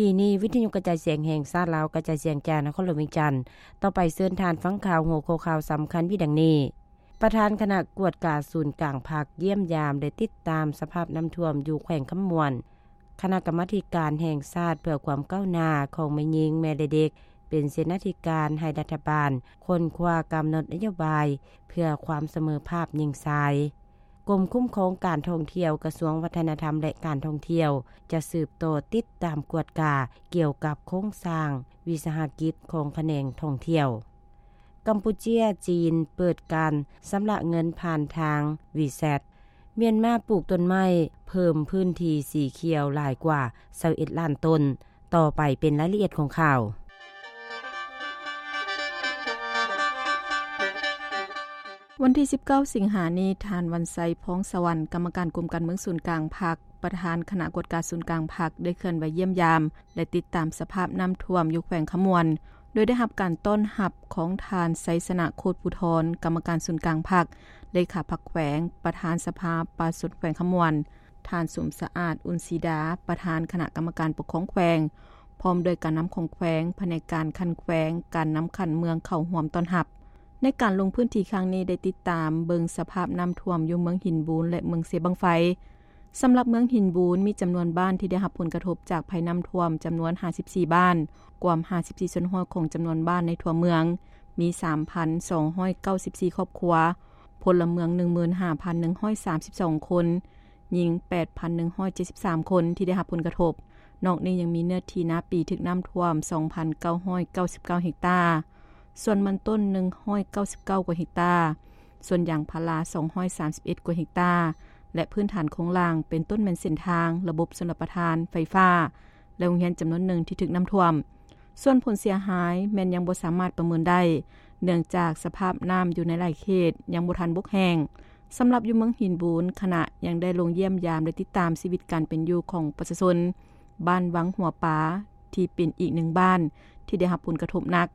ທີ່ນີ້ ວິທະຍຸກະຈາຍສຽງແຫ່ງຊາດລາວ ກະຈາຍສຽງຈາກນະຄອນຫຼວງວຽງຈັນ. ຕໍ່ໄປເຊີນທ່ານຟັງຂ່າວ ຫົວຂໍ້ຂ່າວສຳຄັນມີດັ່ງນີ້: ປະທານຄະນະກວດກາສູນກາງພັກ ຢ້ຽມຢາມ ແລະ ຕິດຕາມສະພາບນ້ຳຖ້ວມຢູ່ແຂວງຄຳມ່ວນ. ຄະນະກຳມາທິການແຫ່ງຊາດເພື່ອຄວາມກ້າວໜ້າຂອງແມ່ຍິງ, ແມ່ ແລະ ເດັກ ເປັນເສນາທິການໃຫ້ລັດຖະບານຄົ້ນຄວ້າກຳນົດນະໂຍບາຍເພື່ອຄວາມສະເໝີພາບຍິງຊາຍ. ກົມຄຸ້ມຄອງການທ່ອງທ່ຽວ ກະຊວງວັດທະນະທຳ ແລະ ການທ່ອງທ່ຽວ ຈະສືບຕໍ່ຕິດຕາມກວດກາກ່ຽວກັບໂຄງສ້າງວິສາຫະກິດຂອງຂະແໜງທ່ອງທ່ຽວ. ກຳປູເຈຍ, ຈີນ ເປີດການຊຳລະເງິນຜ່ານທາງ WeChat. ມຽນມາປູກຕົ້ນໄມ້ເພີ່ມພື້ນທີ່ສີຂຽວຫຼາຍກວ່າຊາວເອັດລ້ານຕົ້ນ. ຕໍ່ໄປເປັນລາຍລະອຽດຂອງຂ່າວ. ວັນທີສິບເກົ້າ ສິງຫານີ້, ທ່ານ ວັນໄຊ ພອງສະຫວັນ ກຳມະການກົມການເມືອງສູນກາງພັກ, ປະທານຄະນະກວດກາສູນກາງພັກ ໄດ້ເຄື່ອນໄຫວຢ້ຽມຢາມ ແລະ ຕິດຕາມສະພາບນ້ຳຖ້ວມຢູ່ແຂວງຄຳມ່ວນ, ໂດຍໄດ້ຮັບການຕ້ອນຮັບຂອງທ່ານ ໄຊຊະນະ ໂຄດພູທອນ ກຳມະການສູນກາງພັກ, ເລຂາພັກແຂວງ, ປະທານສະພາປະຊາຊົນແຂວງຄຳມ່ວນ, ທ່ານ ສົມສະອາດ ອຸ່ນສີດາ ປະທານຄະນະກຳມະການປົກຄອງແຂວງ, ພ້ອມດ້ວຍການນຳຂອງແຂວງ, ພະແນກການຂັ້ນແຂວງ, ການນຳຂັ້ນເມືອງເຂົ້າຮ່ວມຕ້ອນຮັບ. ໃນການລົງພື້ນທີ່ຄັ້ງນີ້ ໄດ້ຕິດຕາມເບິ່ງສະພາບນ້ຳຖ້ວມຢູ່ເມືອງຫີນບູນ ແລະ ເມືອງເຊບັ້ງໄຟ. ສຳລັບເມືອງຫີນບູນ ມີຈຳນວນບ້ານທີ່ໄດ້ຮັບຜົນກະທົບຈາກໄພນ້ຳຖ້ວມຈຳນວນຫ້າສິບສີ່ບ້ານ, ກວມຫ້າສິບສີ່ສ່ວນຮ້ອຍຂອງຈຳນວນບ້ານໃນທົ່ວເມືອງ, ມີສາມພັນສອງຮ້ອຍເກົ້າສິບສີ່ຄອບຄົວ, ພົນລະເມືອງໜຶ່ງໝື່ນຫ້າພັນໜຶ່ງຮ້ອຍສາມສິບສອງຄົນ, ຍິງແປດພັນໜຶ່ງຮ້ອຍເຈັດສິບສາມຄົນທີ່ໄດ້ຮັບຜົນກະທົບ. ນອກນີ້ຍັງມີເນື້ອທີ່ນາປີຖືກນ້ຳຖ້ວມສອງພັນເກົ້າຮ້ອຍເກົ້າສິບເກົ້າເຮັກຕາ, ສວນມັນຕົ້ນໜຶ່ງຮ້ອຍເກົ້າສິບເກົ້າກວ່າເຮັກຕາ, ສວນຢາງພາລາສອງຮ້ອຍສາມສິບເອັດກວ່າເຮັກຕາ ແລະ ພື້ນຖານໂຄງລ່າງ ເປັນຕົ້ນແມ່ນເສັ້ນທາງ, ລະບົບຊົນລະປະທານ, ໄຟຟ້າ ແລະ ໂຮງຮຽນຈຳນວນໜຶ່ງທີ່ຖືກນ້ຳຖ້ວມ. ສ່ວນຜົນເສຍຫາຍແມ່ນຍັງບໍ່ສາມາດປະເມີນໄດ້, ເນື່ອງຈາກສະພາບນ້ຳຢູ່ໃນຫຼາຍເຂດຍັງບໍ່ທັນບົກແຫ້ງ. ສຳລັບຢູ່ເມືອງຫີນບູນ, ຄະນະຍັງໄດ້ລົງຢ້ຽມຢາມ ແລະ ຕິດຕາມຊີວິດການເປັນຢູ່ຂອງປະຊາຊົນ ບ້ານວັງຫົວປາ ທີ່ເປັນອີກໜຶ່ງບ້ານທີ່ໄດ້ຮັບຜົນກະທົບໜັກ.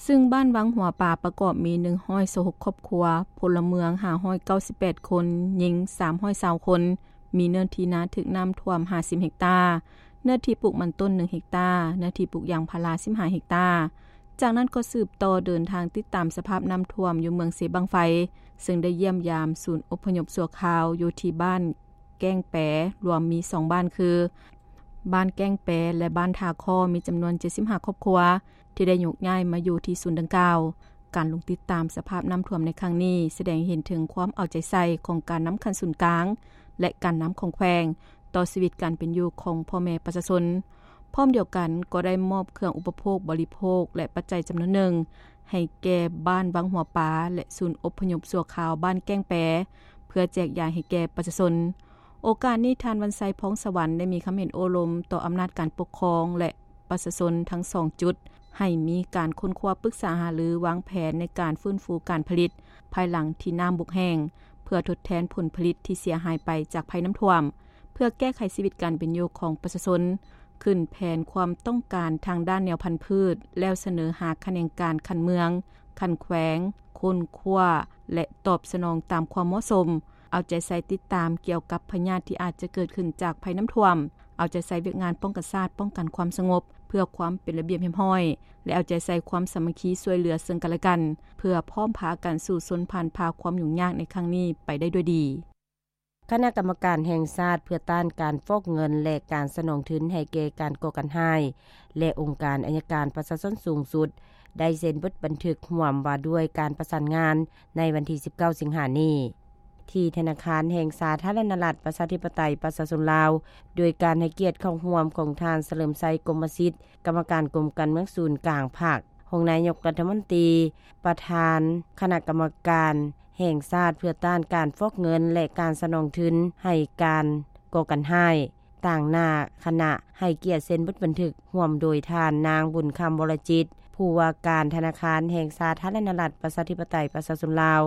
ຊຶ່ງບ້ານວັງຫົວປາປະກອບມີໜຶ່ງຮ້ອຍຊາວຫົກຄອບຄົວ, ພົນລະເມືອງຫ້າຮ້ອຍເກົ້າສິບແປດຄົນ, ຍິງສາມຮ້ອຍຊາວຄົນ, ມີເນື້ອທີ່ນາຖືກນ້ຳຖ້ວມຫ້າສິບເຮັກຕາ, ເນື້ອທີ່ປູກມັນຕົ້ນໜຶ່ງເຮັກຕາ, ເນື້ອທີ່ປູກຢາງພາລາສິບຫ້າເຮັກຕາ. ຈາກນັ້ນກໍສືບຕໍ່ເດີນທາງຕິດຕາມສະພາບນ້ຳຖ້ວມຢູ່ເມືອງເຊບັ້ງໄຟ, ເຊິ່ງໄດ້ຢ້ຽມຢາມສູນອົບພະຍົບຊົ່ວຄາວຢູ່ທີ່ບ້ານແກ້ງແປ, ລວມມີສອງບ້ານຄື ບ້ານແກ້ງແປ ແລະ ບ້ານທ່າຄໍ້ ມີຈຳນວນເຈັດສິບຫ້າຄອບຄົວ ທີ່ໄດ້ໂຍກຍ້າຍມາຢູ່ທີ່ສູນດັ່ງກ່າວ. ການລົງຕິດຕາມສະພາບນ້ຳຖ້ວມໃນຄັ້ງນີ້ ສະແດງໃຫ້ເຫັນເຖິງຄວາມເອົາໃຈໃສ່ຂອງການນຳຂັ້ນສູນກາງ ແລະ ການນຳຂອງແຂວງ ຕໍ່ຊີວິດການເປັນຢູ່ຂອງພໍ່ແມ່ປະຊາຊົນ. ພ້ອມດຽວກັນກໍໄດ້ມອບເຄື່ອງອຸປະໂພກບໍລິໂພກ ແລະ ປັດໄຈຈຳນວນໜຶ່ງ ໃຫ້ແກ່ບ້ານວັງຫົວປາ ແລະ ສູນອົບພະຍົບຊົ່ວຄາວບ້ານແກ້ງແປ ເພື່ອແຈກຢາຍໃຫ້ແກ່ປະຊາຊົນ. ໂອກາດນີ້ ທ່ານ ວັນໄຊ ພອງສະຫວັນ ໄດ້ມີຄຳເຫັນໂອ້ລົມຕໍ່ອຳນາດການປົກຄອງ ແລະ ປະຊາຊົນທັງສອງຈຸດ ໃຫ້ມີການຄົ້ນຄວ້າປຶກສາຫາລືວາງແຜນໃນການຟື້ນຟູການຜະລິດ ພາຍຫຼັງທີ່ນ້ຳບົກແຫ້ງ ເພື່ອທົດແທນຜົນຜະລິດທີ່ເສຍຫາຍໄປຈາກໄພນ້ຳຖ້ວມ, ເພື່ອແກ້ໄຂຊີວິດການເປັນຢູ່ຂອງປະຊາຊົນ, ຂຶ້ນແຜນຄວາມຕ້ອງການທາງດ້ານແນວພັນພືດ ແລ້ວສະເໜີຫາຂະແໜງການຂັ້ນເມືອງ, ຂັ້ນແຂວງ, ຄົ້ນຄວ້າ ແລະ ຕອບສະໜອງຕາມຄວາມເໝາະສົມ, ເອົາໃຈໃສ່ຕິດຕາມກ່ຽວກັບພະຍາດທີ່ອາດຈະເກີດຂຶ້ນຈາກໄພນ້ຳຖ້ວມ, ເອົາໃຈໃສ່ວຽກງານປ້ອງກັນຊາດ, ປ້ອງກັນຄວາມສະຫງົບ ເພື່ອຄວາມເປັນລະບຽບຮຽບຮ້ອຍ ແລະ ເອົາໃຈໃສ່ຄວາມສາມັກຄີຊ່ວຍເຫຼືອເຊິ່ງກັນແລະກັນ, ເພື່ອພ້ອມພາກັນສູ້ຊົນຜ່ານຜ່າຄວາມຫຍຸ້ງຍາກໃນຄັ້ງນີ້ໄປໄດ້ດ້ວຍດີ. ຄະນະກຳມະການແຫ່ງຊາດເພື່ອຕ້ານການຟອກເງິນ ແລະ ການສະໜອງທຶນໃຫ້ແກ່ການກໍ່ການຮ້າຍ ແລະ ອົງການໄອຍະການປະຊາຊົນສູງສຸດ ໄດ້ເຊັນບົດບັນທຶກຮ່ວມວ່າດ້ວຍການປະສານງານໃນວັນທີສິບເກົ້າ ສິງຫານີ້ ທີ່ທະນາຄານແຫ່ງສາທາລະນະລັດ ປະຊາທິປະໄຕ ປະຊາຊົນລາວ, ໂດຍການໃຫ້ກຽດເຂົ້າຮ່ວມຂອງທ່ານ ສະເຫຼີມໄຊ ກົມມະສິດ, ກຳມະການກົມການເມືອງສູນກາງພັກ, ຮອງນາຍົກລັດຖະມົນຕີ, ປະທານຄະນະກຳມະການແຫ່ງຊາດເພື່ອຕ້ານການຟອກເງິນ ແລະ ການສະໜອງທຶນໃຫ້ການກໍ່ການຮ້າຍ, ຕາງໜ້າຄະນະໃຫ້ກຽດເຊັນບົດບັນທຶກ ຮ່ວມໂດຍທ່ານ ນາງ ບຸນຄຳ ວໍລະຈິດ, ຜູ້ວ່າການທະນາຄານແຫ່ງສາທາລະນະລັດ ປະຊາທິປະໄຕ ປະຊາຊົນລາວ,